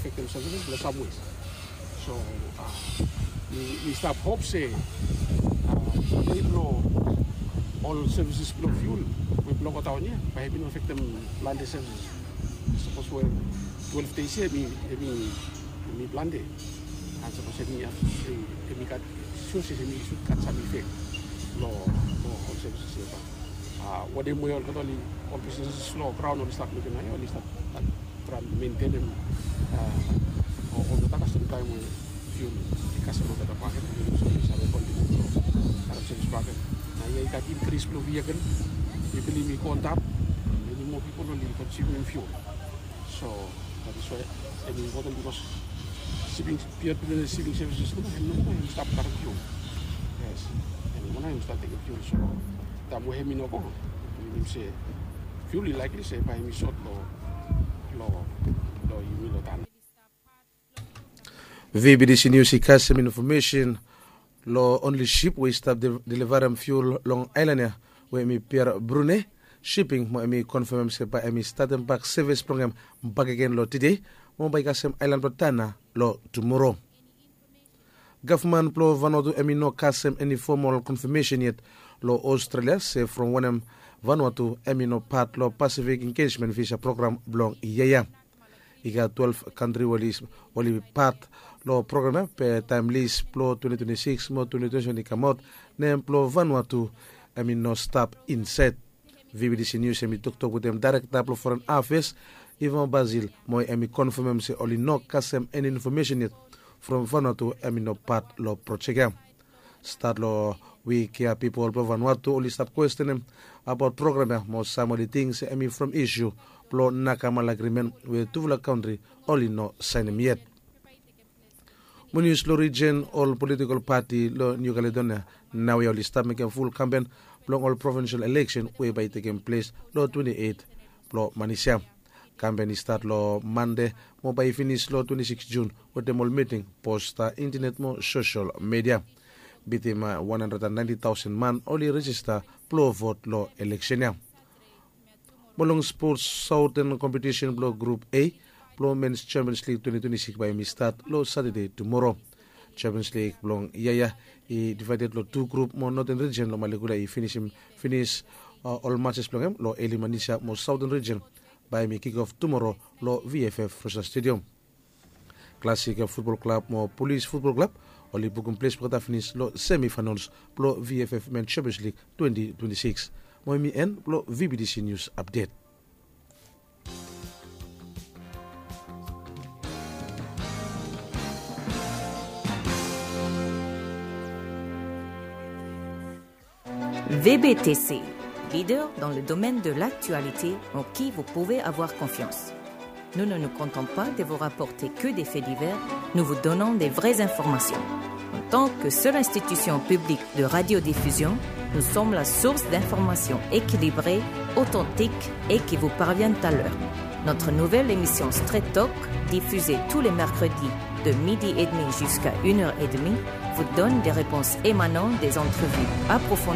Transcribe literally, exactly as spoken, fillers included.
Afektem services blong samwe. So mi stap hop se dei blong ol services blong fiul we blong godaon ya bae hemi no afektem plante services. Sapos we twelve days ya hemi plante, and sapos hemi gat suse hemi sud gat sam ifek long ol services ya. Wanem we olgeta ol bisnis long graon oli stap mekem nao ya, oli stap traem mentenem olgeta kasem taem we fiul i kasem olgeta paket, oli save kontiniu long karem sevis paket. Nao ya i gat inkris blong vehikel, mi bilif i go antap, many more pipol oli konsumim fiul. So that is why hemi impoten bikos siping, piod blong siping sevises tu nao hemi no moa hemi stap karem fiul. Yes, hemi no moa nao hemi stap tekem fiul. So taem we hemi no go, minim se fiul i laekli se bae hemi sot long long long yumi long taon. V B T C News i kasem infomesen long onli sip we i stap delivarem fiul long aelan ya we hemi Pier Brune Shipping, mo hemi konfemem se bae hemi statem bak sevis blong hem bakegen long tede, mo bae i kasem aelan blong Tanna long tumoro. Gavman blong Vanuatu hemi no kasem eni fomol konfemesen yet long Australia se from wanem Vanuatu hemi no pat long Pacific Engagement Visa Program blong yia ya. I gat twelve kantri we oli pat long program ya, be taem lis blong twenty twenty-six mo twenty twenty-seven i kamaot, nem blong Vanuatu hemi no stap insaed. V B T C News hemi toktok wetem daerekta blong Foren Afeas, Ivan Basil, mo hemi konfemem se oli no kasem eni infomesen yet from Vanuatu hemi no pat long projek ya. Stat long wik ya pipol blong Vanuatu oli stap kwestenem abaot program ya mo sam oli ting se hemi from isu blong Nakamal Agrimen we tufala kantri oli no saenem yet. Mo nius long rijen, ol politikol pati long Niu Kaledonia naoia oli stap mekem ful kampen blong ol provinsel eleksen we bae i tekem ples long twenti eit blong manis ya. Kampen i stat long Mande mo bae i finis long twenti sikis Jun wetem ol miting, posta, intenet mo sosel midia. Bitim wan handred and naenti taosen man oli rejista blong vot long eleksen ya. Mo long spots, saoten kompetisen blong grup A blong Mens Champions League twenti twenti sikis bae hemi stat long Satade tumoro. Champions League blong yia ya i divaeded long tu grup mo Noten Rijen long Malekula i finisim finis ol matses blong hem long eli manis ya mo Saoten Rijen bae hemi kikof tumoro long V F F Rosa Stadium. Klasik Futbol Klab mo Pulis Futbol Klab oli bukum ples blong olgeta finis long semi faenols blong V F F Men Champions League twenti twenti sikis. Mo hemi en blong V B T C Nius Apdet. V B T C, leader dans le domaine de l'actualité en qui vous pouvez avoir confiance. Nous ne nous contentons pas de vous rapporter que des faits divers, nous vous donnons des vraies informations. En tant que seule institution publique de radiodiffusion, nous sommes la source d'informations équilibrées, authentiques et qui vous parviennent à l'heure. Notre nouvelle émission Straight Talk, diffusée tous les mercredis de midi et demi jusqu'à une heure et demie, vous donne des réponses émanant des entrevues approfondies